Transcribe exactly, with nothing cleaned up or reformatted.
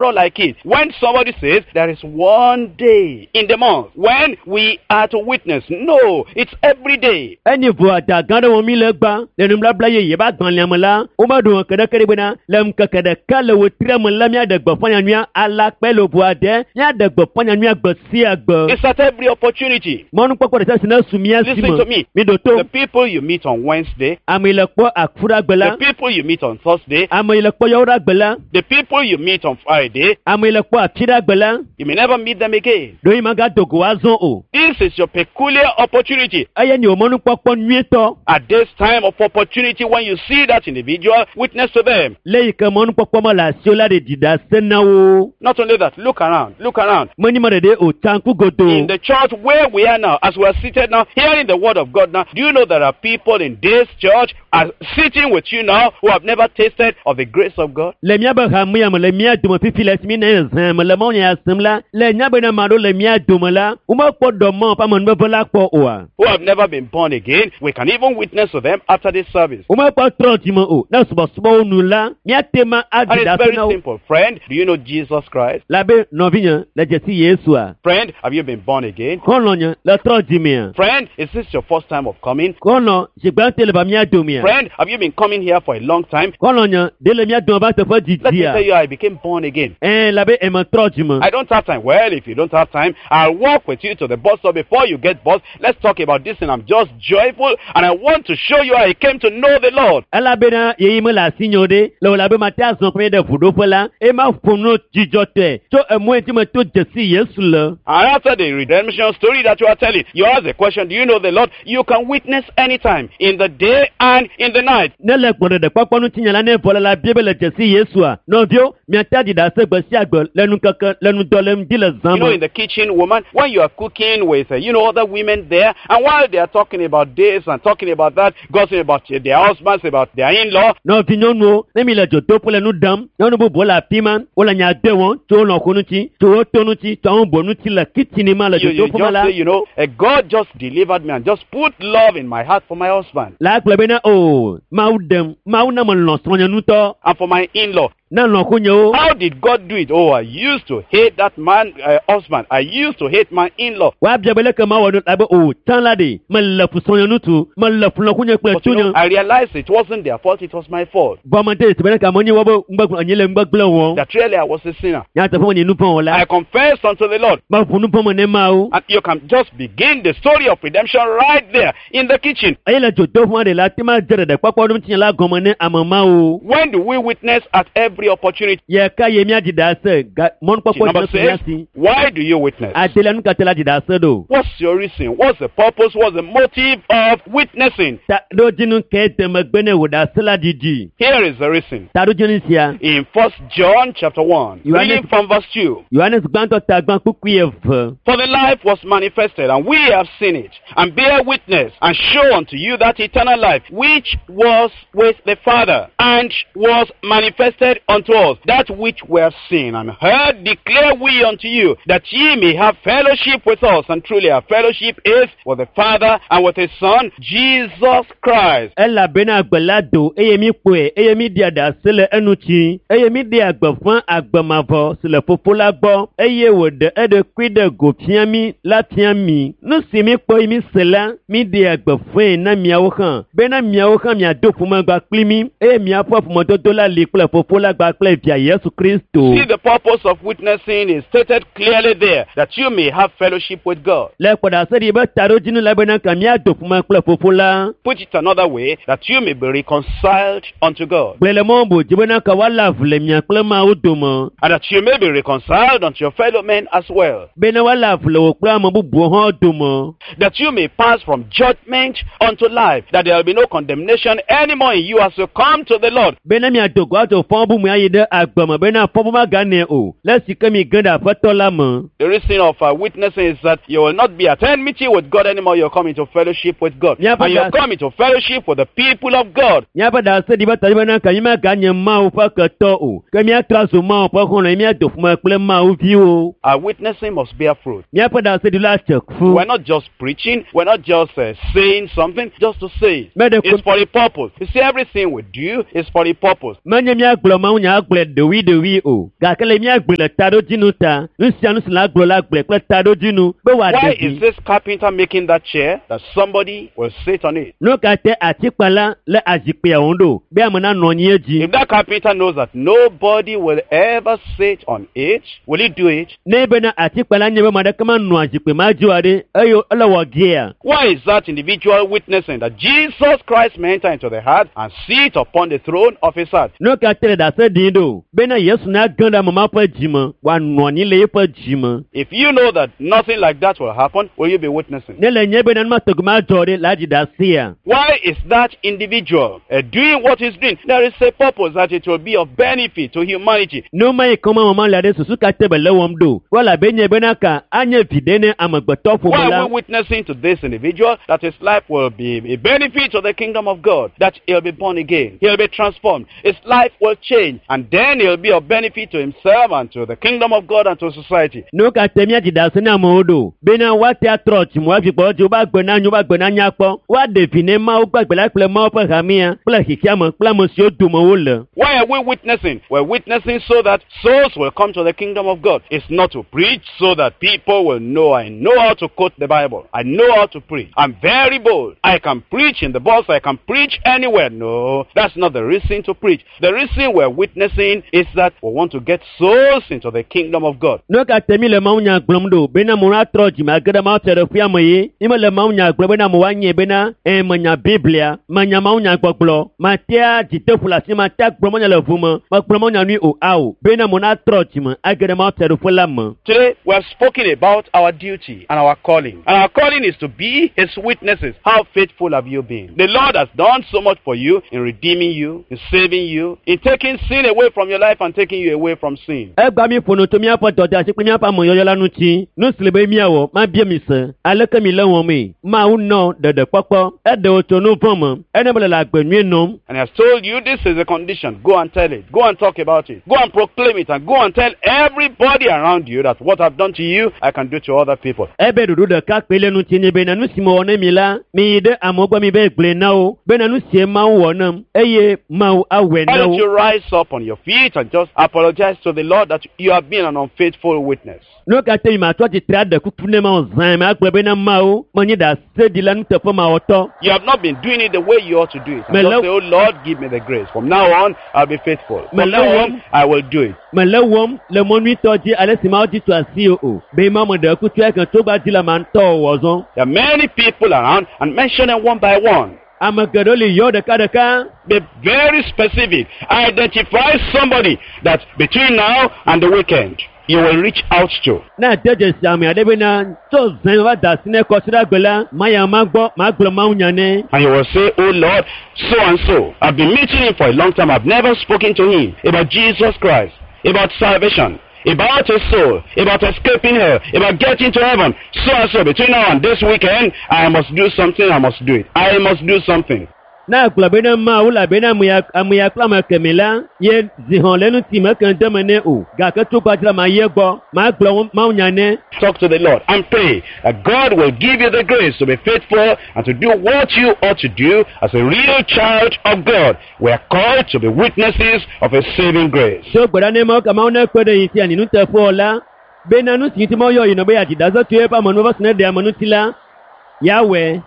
Like it. When somebody says there is one day in the month when we are to witness, no, it's every day. Enyi ʋua da gã ɖe wɔm mi le gbã le nubabla yeye be agbalẽa me la, womeɖo ŋke ɖeke ɖi bena le ŋkeke ɖeka le wetria me la míaɖe gbeƒã nyanyuia alakpae le ʋua de míaɖe gbeƒã nyanyuia gbe sia gbe. It's at every opportunity. Mɔnukpɔkpɔ ɖe sia si ne su mía si Listen to me me. mi ɖo to The people you meet on Wednesday, ame yi le kpɔ akuɖagbe la the people you meet on Thursday, ame yi le kpɔ yɔwoɖagbe la the people you meet on Friday, ame yi le kpɔ atsiɖagbe la you may never meet them again. ɖo yi magado go azɔ o. This is your peculiar opportunity. Eye nye wò mɔnukpɔkpɔ nyuietɔ At this time of opportunity, when you see that individual, witness to them. le yi ke mɔnukpɔkpɔ me le asiwò la ɖe ɖi ɖase na wo. Not only that, look around, look around. Menye me ɖeɖe o tsa ŋku godoo. In the church where we are now, as we are seated now, hearing the word of God now, do you know there are people in this church are sitting with you now who have never tasted of the grace of God? Le míabe hamea me le mía dome fifi le esi mi ne zã me le mawunya sem la le nya bena ame aɖewo le mía dome la womekpɔ dɔ Mawu ƒe amenuveve la kpɔ oa. Who have never been born again? We can even witness to them after this service. Womekpɔ trɔ dzime o ne subɔsubɔwo nu la míate ma And aɖi it's ɖase very na wo. simple. Friend, do you know Jesus Christ? Labe nɔvinye le dzesi Yesua. Friend, have you been born again? Xɔlɔ̃nye le trɔ dzimea. Friend, is this your first time of coming? Xɔlɔ̃ zigbãtɔe le va mía domea. Friend, have you been coming here for a long time? Xɔlɔ̃nye ɖe le mía dome va teƒe Let me didia. tell you, I became born again. Ɛɛ labe eme trɔ dzime. I don't have time. Well, if you don't have time, I'll walk with you to the bus stop before you get bus. Let's talk about this, and I'm just joyful, and I want to show you how I came to know the Lord. Elabena yeyi mele asinye o ɖe le wò labe mate azɔ kple ɖe ʋuɖoƒe la eye ma ƒo nu dzidzɔtɔe tso emɔ yi dzi me to dzesi Yesu le. And after the redemption story that you are telling, you ask the question, do you know the Lord? You can witness anytime, in the day and in the night. Ne le gbɔɖeɖekpɔkpɔ ŋutinya la ne vɔ le la bia be le dzesi Yesua nɔviwo miate aɖi ɖase gbe sia gbe le nukeke le ŋdɔ le ŋdi le zã You know, me. in the kitchen, woman, when you are cooking with, uh, you know, other women there, and while they are talking about this and talking about that, gossiping about uh, their husbands, about their in-law, Nɔvi nyɔnuwo ne mi le dzodoƒe le nu ɖam nyɔnu bubuwo le afi ma wole nya de wɔm tso wo lɔ̃xo ŋuti tso wo to ŋuti tso ame bubu ŋuti le kitsini ma le you, you dzodoƒe ma just la say, you know, uh, God just delivered me and just put love in my heart for my husband la gblɔ bena o Mawu ɖem Mawu na melɔ̃ srɔ̃nye ŋutɔ and for my in-law. na lɔ̃xonyewo. How did God do it? Oh, I used to hate that man, uh, husband. I used to hate my in-law. Woabia be leke mawɔ nu labe o tsã la ɖe mele fu srɔ̃nye ŋutsu mele fu lɔ̃xonye kple But you know, tsunye. I realized it wasn't their fault, it was my fault. Vɔ mede esi be ne ka menye wobe ŋgbegblẽ nye le ŋgbegblẽ wɔm. That really I was a sinner. Nyateƒe menye nu vɔ̃ wɔla. I confessed unto the Lord. Meʋu nu vɔ̃ me ne Mawu. And you can just begin the story of redemption right there in the kitchen. Eye le dzodoƒe ɖe la te ma dze ɖeɖekpɔkpɔ ɖo ŋutinya la gɔme ne ame mawo. When do we witness at every opportunity? Ye ka ye míaɖi ɖase ga mɔnukpɔkpɔ Number si ne su mía six, si. why do you witness? Adelia nu ka ta la ɖi ɖase ɖo? What's your reason? What's the purpose? What's the motive of witnessing? Taɖodzinu ke de megbe ne wò ɖase la ɖiɖi. Here is the reason. Taɖodzinu sia. In First John chapter one, You are reading not- from verse two. Yohanes gbãtɔ ta gbã kpukpui eve. For the life was manifested, and we have seen it, and bear witness, and show unto you that eternal life, which was with the Father, and was manifested unto us. That which we have seen and heard declare we unto you, that ye may have fellowship with us. And truly our fellowship is with the Father and with his Son, Jesus Christ. Elabena agbe la do eye mi kpɔe eye mi ɖia ɖase le eŋuti eye mi ɖea gbeƒã agbe mavɔ si le fofo la gbɔ eye wòɖe eɖokui ɖe go fia mi la fia mi. Nu si mi kpɔ eye mi se la mi ɖea gbeƒãe na miawo hã bena miawo hã miado ƒomegba kpli mi eye miaƒe ƒomedodo la li kple fofo la gba kple via Yesu Kristo. See, the purpose of witnessing is stated clearly there, that you may have fellowship with God. Le kpɔɖase ɖi be taɖodzinu la bena ka miado ƒome kple fofo la. Put it another way, that you may be reconciled unto God. Gblɔe le mɔ bubu dzi bena ka woalé avu le mia kple Mawu dome. And that you may be reconciled unto your fellow men as well. Bena woalé avu le wò kple ame bubuwo hã dome. That you may pass from judgment unto life. That there will be no condemnation anymore in you as you come to the Lord. Bena miado go atso fɔbumu ayi ɖe agbe me bena fɔbu maganɛ o le esi ke mi ge ɖe aƒetɔ la me. The reason of uh, witnessing is that you will not be at enmity with God anymore. You'll come into fellowship with God. Yeah, but And you'll that's- come into fellowship with the people of God. Míaƒe ɖase ɖi be taɖi bena ka mi maganye Mawu ƒe ketɔ o ke míatrɔ azu Mawu ƒe xɔlɔ̃ ye míado ƒome kple Mawu viwo. Our witnessing must bear fruit. Míaƒe ɖase ɖi la tse ku. We're not just preaching. We're not just uh, saying something just to say it. Mɛ ɖe It's for a purpose. You see, everything we do is for a purpose. Menye míagblɔ Mawu mawunya agblɔe ɖewoɖewoe o gake le míagblɔe le taɖodzinu ta nu sia nu si le agblɔ la gblɔe kple taɖodzinu be Why wòaɖe is vi this carpenter making that chair that somebody will sit on it? nu ka te atikpala le azikpuia wɔm ɖo be ame nanɔ anyi edzi If that carpenter knows that nobody will ever sit on it, will he do it? ne bena atikpala nye be ame aɖeke manɔ azikpui ma dzi oa ɖe eye ele wɔ gea Why is that individual witnessing that Jesus Christ may enter into the heart and sit upon the throne of his heart? nu ka te le ɖase ɖim ɖo bena yesu nage ɖe ame ma ƒe dzime wòanɔ anyi le eƒe dzime If you know that nothing like that will happen, will you be witnessing? ne le nye bena nu ma tɔgbi ma dzɔ ɖe la dzi ɖasea Why is that individual uh, doing what he's doing? There is a purpose that it will be of benefit to humanity. nu ma yi ke ma wɔm le ɖe susu ka te be le wɔm ɖo wala be nye bena ka anye viɖe ne amegbetɔ ƒome Why la are we witnessing to this individual that his life will be a benefit to the kingdom of God, that he'll be born again, he'll be transformed, his life will change, and then he'll be of benefit to himself and to the kingdom of God and to society. nu ka te míadzi ɖase ne amewo ɖo bena woate atrɔ dzime woavi gbɔ dzi wobe agbe na nyo wobe agbe na nyakpɔ woaɖe vi ne mawu gbagbe la kple mawu ƒe hamea kple xexeame kple ame siwo dome wole Why are we witnessing? We're witnessing so that souls will come to the kingdom of God. It's not to preach so that people will know I know how to quote the Bible. I know how to preach. I'm very bold. I can preach in the bus. I can preach anywhere. No, that's not the reason to preach. The reason we're witnessing is that we want to get souls into the kingdom of God. nu ka te mi le mawunya gblɔm ɖo bena amewo atrɔ dzime age ɖe mawu fiaɖuƒea me ye mi mele mawunya gblɔm bena amewo anye bena ɛ menya biblia menya mawunya gbɔgblɔ matea dziteƒo le asi matea gblɔ mawunya le ʋu me megblɔ mawunya nui o ao bena amewo natrɔ dzime age ɖe mawu fiaɖuƒe la me Today, we have spoken about our duty and our calling. And our calling is to be His witnesses. How faithful have you been? The Lord has done so much for you in redeeming you, in saving you, in taking sin away from your life and taking you away from sin. Egba mi ƒo nu tso míaƒe dɔdeasi kple míaƒe ameyɔyɔ la ŋuti. Nu si le be míawɔ, mabia mi se. Aleke mi le wɔmee? Mawu nɔ ɖeɖekpɔkpɔ. Eɖe wò tso nu vɔ̃ me. Ene be le le agbe nyui nɔm. And He has told you this is the condition. Go and tell it. Go and talk about it. Go and proclaim it and go and tell everybody around you that what I've done to you, I can do to other people. Ebe ɖoɖo ɖeka kpe le ŋuti nye bena nu si mewɔ ne mi la, mi yi ɖe amewo gbɔ mi be gblɔe na wo bena nu sie Mawu wɔ nam eye Mawu awɔe Why na don't you wo. rise up on your feet and just apologize to the Lord that you have been an unfaithful witness? Nu ka te mi matɔ tsitre aɖe kuku ne Mawu zãe me agblɔ bena Mawu menye ɖaseɖila nuteƒemawɔtɔ. You have not been doing it the way you ought to do it. And Me just lo- say, oh Lord, give me the grace. From now on, I'll be faithful. Me From lo- now on, I will do it. Mele wɔm le mɔ nyuitɔ dzi ale si Mawu dzi tso asi o. Be Mawu meɖe kuku eke tso gba dzi le ma ŋutɔ wɔ zɔ. There are many people around and mention them one by one. Ame geɖewo li yɔ ɖekaɖeka. Be very specific. Identify somebody that between now and the weekend you will reach out to. Ne ade dzesi ame aɖe bena tso zẽ va da asi ne kɔsiɖagbe la, maya ma gbɔ magblɔ Mawu nya nɛ. And you will say, Oh Lord, so and so. I've been meeting him for a long time. I've never spoken to him about Jesus Christ, about salvation, about his soul, about escaping hell, about getting to heaven. So and so, between now and this weekend, I must do something. I must do it. I must do something. Ne agblɔ bena Mawu le bena ame ya ame ya kple ame kemɛ la, ye zi hɔn le ŋuti meke ŋde me nɛ o. Gake tso gbadzi la ma yi egbɔ, magblɔ wo- Mawu nya nɛ. Talk to the Lord and pray that God will give you the grace to be faithful and to do what you ought to do as a real child of God. We are called to be witnesses of His saving grace. Tso gbe ɖa ne Mawu ka Mawu nekpe ɖe yi sia ni nuteƒewɔ la, bena nu si ŋuti Mawu yɔ yina be yeadzi ɖase tso eƒe amenuveve si ne ɖe ame ŋuti la, yeawɔe.